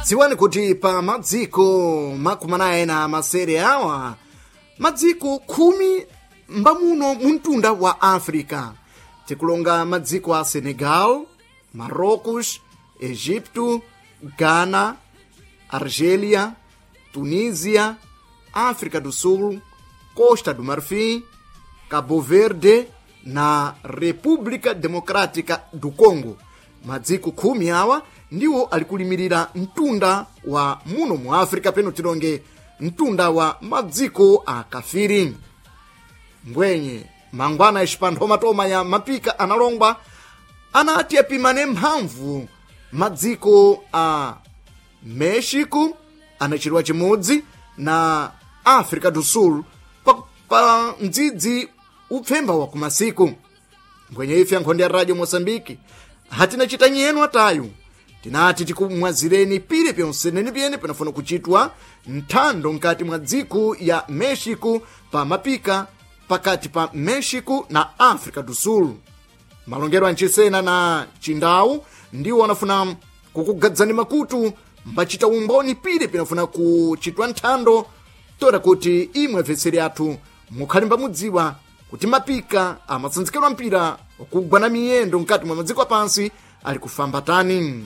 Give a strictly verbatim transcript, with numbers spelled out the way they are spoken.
Dziwani kuti pa madziko makumi anayi na masere awa, madziko khumi mbamuno mu mtunda wa Africa, tikulonga madziko a Senegal, Marrocos, Egipto, Ghana, Argelia, Tunisia, África do Sul, Costa do Marfim, Cabo Verde na República Democrática do Congo. Madziko khumi awa ndiwo alikulimirira mtunda wa muno mu Africa, peno tilonge mtunda wa madziko a kafiri. Mbwenye mangwana ixipanthomatoma ya mapika analongwa anati apimane mphamvu madziko a Mexico anachiriwa chimodzi na Africa do Sul pa, pa mdzidzi upfemba wa kumasiku. Mbwenye ife ankhonde ya Radio Moçambique hatina chita nyenu atayu, tinati tikumwazireni pile pyonse pyene panafuna kuchitwa nthando nkati mwa dziko ya Mexico pa mapika pakati pa Mexico na Africa do Sul. Malongero ancisena na Chindau ndiwo anafuna kukugadzani makutu mbachita umboni pile pinafuna kuchitwa nthando, toera kuti imwe vetseri athu mukhale mbamudziwa kuti mapika amatsanzikidwa mpira kugwa na miyendo mkati mwa madziko apansi ali kufamba tani.